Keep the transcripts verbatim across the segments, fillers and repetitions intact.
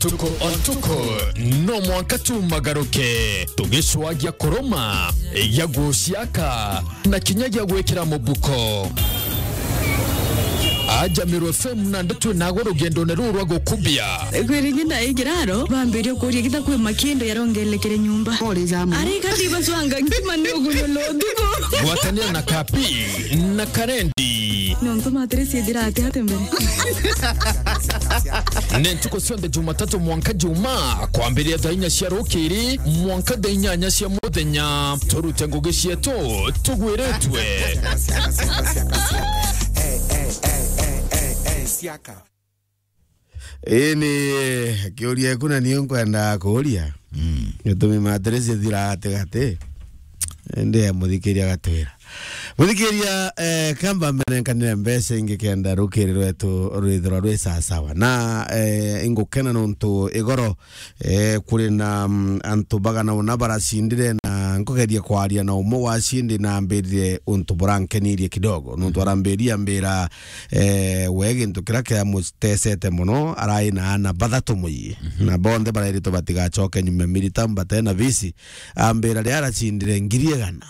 Tuko o tuko, no mwanka tumagaruke, tugicwagia kuruma, ya guciaka, na kinya gia gwikira mubuko. Aja Meru F M na ndeto nago rugendone ruru rwa gukubia. Kwiri nyina igiraro, bambirie kuria gita kwi makindo yarongelekere nyumba. Pole jamu. Ari kati baswanga ntima ni uguyo lodugo. Gwatanira na Kapi na Karendi. Nontu matirisi ithira ati ati mbere. Ni ntuku cionthe Jumatatu mwanka Juma, kwambiria thaa inya cia rukiri mwanka thaa inyanya cia muthenya. Turute ngugi cietu tugwiritwe. Ii ni kiuria iku na niu nkwenda kuuria. Mm. Gitumi matirisi ithira ati gati. Indi muthikiria gatwira. Muthikiria, eh, kamba mbere nkanire mbeca ingi kenda rukiri rwetu rwithirwa rwi sawasawa. Na, eh, ingukena nontu igoro, eh, kuri na, mm, antu bagana una baracindire, na nkugeria kwaria na umwe wa cindi na ambirire untu burankenirie kidogo. Nontu arambiria, ambira, eh, we gintu kiria kiamutesete muno, arai na ana bathatu muyi. Mhm. Na bonthe barairitwe batigacoke nyuma milita batena bisi. Ambira riria aracindire ngiri igana,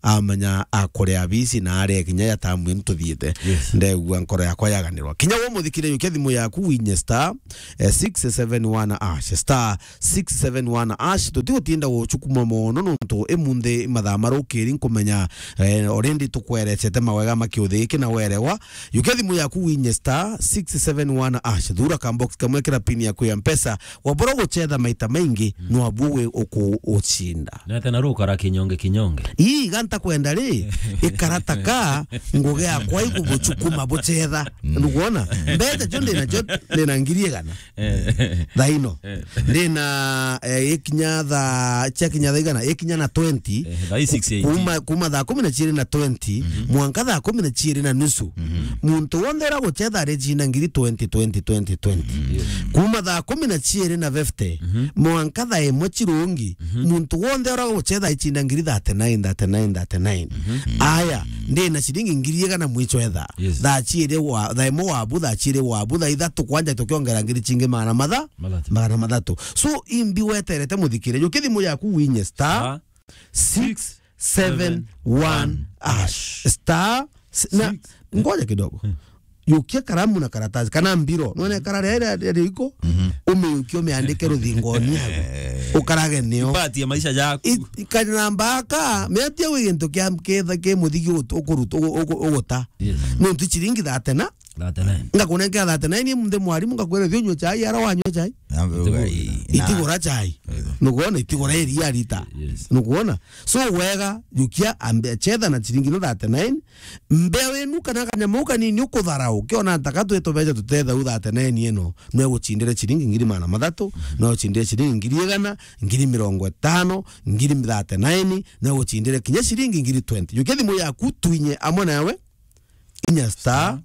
amenya akuria bisi na aria kinya ya tamu ino tuthiite. Yes. Ndegua nkoro yakwa yaganirwa. Kinya we muthikire, yukia thimu yaku winye star, eh, six seven one hash, star six seven one hash. Tutigutinda gucukuma mono nontu imunthi mathaa marukiri nkumenya, eh, already tukwerecete mawega ma kiuthi giki na werewa. Yukia thimu yaku winye star six seven one hash. Thura ka box kamwe, kira pin yaku ya Mpesa. Wabura gucetha maita maingi, mm, nwabu wi uku ucinda. Nete na rukara kinyonge kinyonge. Ii, ganta kwenda ri, ikarata ka ngugi yakwa ikubucukuma bucetha. Mm. Nukwona? Mbeca cio ndina cio, ndina ngiri igana. Eh. Thaa ino. Eh. Ndina, eh, ikinya thaa, cia kinya thaa igana, ikinya na twenty. Eh, thaa six eighty. Kuma, kuma thaa kumi na ciiri na twenty, mhm, mwanka thaa kumi na ciiri na nusu. Mhm. Muntu wonthe ura gucetha aricinda ngiri twenty, twenty, twenty, twenty. Mhm. Kuma thaa kumi na ciiri na fifty, mhm, mwanka thaa imwe cirungi, mhm, muntu wonthe ura gucetha aicinda ngiri thirty-nine, thirty-nine, thirty-nine. Mhm. Aya, ndina ciringi ngiri igana mwico etha. Yes. Thaa ciiri wa, thaa imwe wabu, thaa ciiri wabu, thaa ithatu kwanja tukiongera ngiri cingi magana matha-, mathatu. Magana mathatu. So, imbi weterete muthikire. Yukia thimu yaku winye star, star six seven one hash. Star, s-, na, six. Ngoja kidogo. Hmm. Yukia karamu na karatasi, kana mbiro. Nwene kara ria, ria, ria riko, mhm, umiyukie, umiandike ruthingoni yaku. Ukarage nio. Ipatie maisha jaku. I-, i-, kanamba aka, miatia wi gintu kia, ki, ki muthigi utu-, ukuruta, ugu-, ugu-, uguta. Yes. Nontu ciringi thirty na, thirty-nine. Ngakunengera thirty-nine, imunthi mwarimu, ngakwira, "Thi unywe chai," ara wanywa chai. Itigura chai. Nukwona? Itigura iria rita. Yes. Nukwona? So wega, yukia ambe chetha na ciringi no thirty-nine. Mbea wenu kana kanyama kanini ukutharau. Ukiona ntaka twito beca tutetha u thirty-nine ino. No egucindire ciringi ngiri magana mathatu, no egucindire ciringi ngiri igana, ngiri mirongo itano, ngiri thirty-nine, no egucindire kinya ciringi ngiri twenty. Yukia thimu yaku twinye amwe nawe. Inya star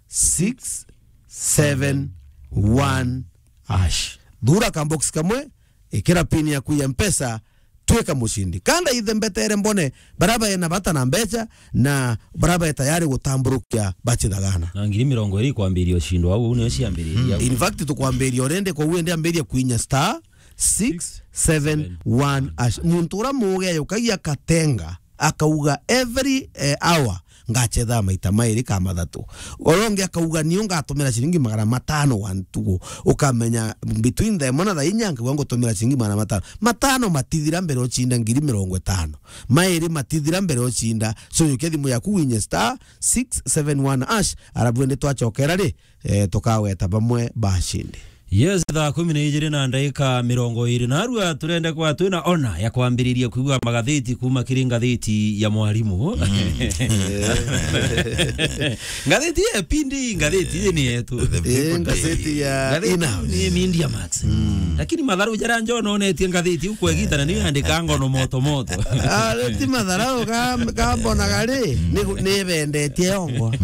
six seven one hash. Thura ka box kamwe, ikira pin yaku ya Mpesa, twika mucindi. Kanda ithe mbetere mbone, bara bae na bata na mbeca, na bara bae tayari gutamburukia bachithagana. Na ngiri mirongo iri ikwambiria ucindo au, niyo ciambiriria. Mm. In fact, tukwambiria already, kwa uende ambiria kwinya star six seven one hash. Muntu ura muge yukagia katenga, akauga every, eh, hour ngachetha maita mairi ka mathatu. Uria ungi akauga niu ngatumira ciringi magana matano wa ntugu. Ukamenya between thaa imwe na thaa inya nkauga ngutumira ciringi magana matano. Matano matithira mbere ucinda ngiri mirongo itano. Mairi matithira mbere ucinda. So yukia thimu yaku winye star six seven one hash. Arabu indi twachokera ri, eh, tukaweta bamwe bashindi. Yes, thaa kumi na ijiri na ndagika mirongo iri na arua turende kwa twina ona ya kwambiriria kuigua magatheti kuma kiri ngatheti ya mwarimu. Mm. Ngatheti ya Pindi, ngatheti iji ni yetu. The People Daily. Eh, ngatheti ya Ina. Ni Media Max. Mm. Lakini matharu jara njo nonetie ngatheti ukwegita na ni andika ngono moto moto. Ah, ti matharau ka, ka mbona gari, ni, ni bendetie yongo.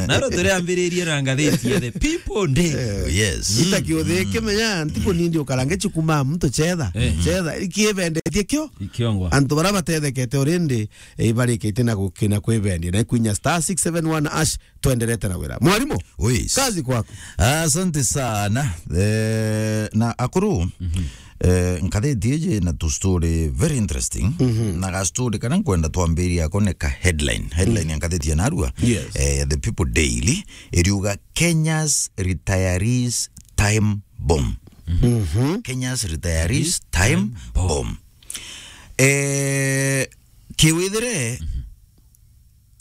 Naro turiambiririe na ngatheti ya The People Daily. Yes. Ita kiuthi kimenya, ntiku nindi ukarange chikuma mtu chetha. Eh. Chetha, ikibendetie kio? Ikiongwa. Antu bara batethekete already, eh, ibarikite na gukina kwibendia. Na kwinya star six seven one hash, twenderete na wira. Mwarimu, Uis. Kazi kwaku. Asante sana. Eh, na akuru, eh, nkatheti iji na tu story very interesting. Na ga story kana nkwenda twambiria ako ni ka headline. Headline ya nkatheti ya narua. Yes. Eh, The People Daily, iriuga Kenya's retirees time bomb. Kenya's retirees time bomb. Eh, kiwithire,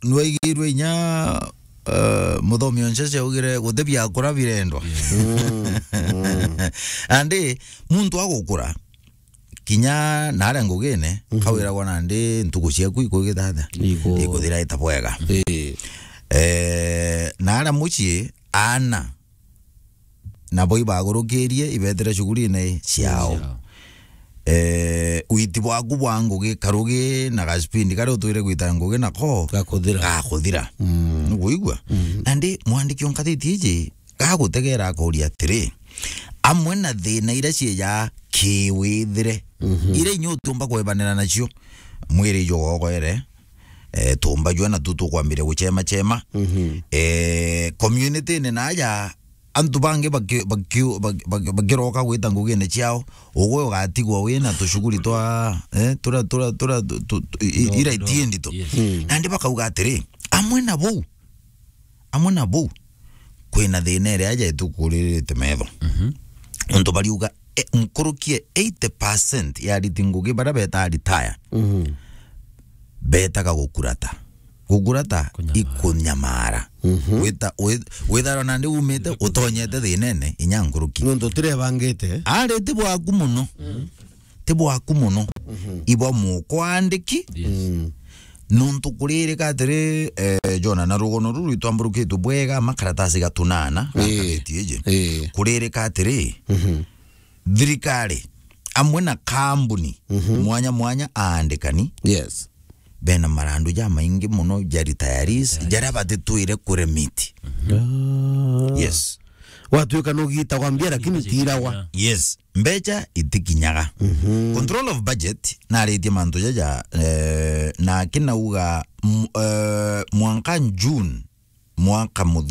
nwaigirwe inya, eh, muthomi onse augire guti biakura birendwa. Andi muntu agukura, kinya naria ngugine, kawiragwa nandi ntuku ciaku ikugithatha. Ikuthira ita bwega. Eh, naria mucii, aana nabo ibagurukirie, ibetere shughulini ciao. Ciao. Eh, witi bwaku bwa ngugi, karugi na gaspindi karia utwire gwita ngugi nako gakuthira. Gakuthira. Nukuigua? Nandi mwandiki o nkathiti iji gagutegera akuria atiri, amwe na thina iria ciija kiwithire, iria inya utiumba kwebanira nacio, mwiri ijo gogoere, eh, tumba jua na tu tukwambiria guchema chema. Eh, community-ini naja, antu bangi baki-, baki-, baki-, baki-, bakiroka gwita ngugine ciao, ugwe ugatigwa wina tushughuli twa, eh, tura, tura, tura, tu, tu, tu, i-, i-, ira itiendi tu. Yes. Nandi bakauga atiri, amwe na bau, amwe na bau, kwina thina iria aja itukuririte metho. Untu bariuga, e, nkuruki e eighty percent ya ariti ngugi baria betaa retire, betaga gukurata. Gukurata, kunyamara. Ikunyamara. Wita-, wi-, witharwa nandi umite, utonyete thinene, inya nkuruki. Nontu utirebangite. Ari ti bwaku muno. Ti bwaku muno. Ibwa mukwandiki. Yes. Nontu kuririka atiri, eh, Jona, na rugono ruru itwamburukitwe bwega, makaratasi gatunana, ii, gakareti iji. Ii. Kuririka atiri, thirikari, amwe na kambuni, mwanya mwanya aandikani, yes, bena marandu jamaingi muno ja retirees, retirees, jaria batitwire kuremit. Ah. Yes. Watwika nugitagwa mbia, lakini tiiragwa. Yes. Mbecha itikinyaga. Control of budget, naritie mantu jaja, eh, na kinauga, m-, eh, mwanka June, mwaka muthi-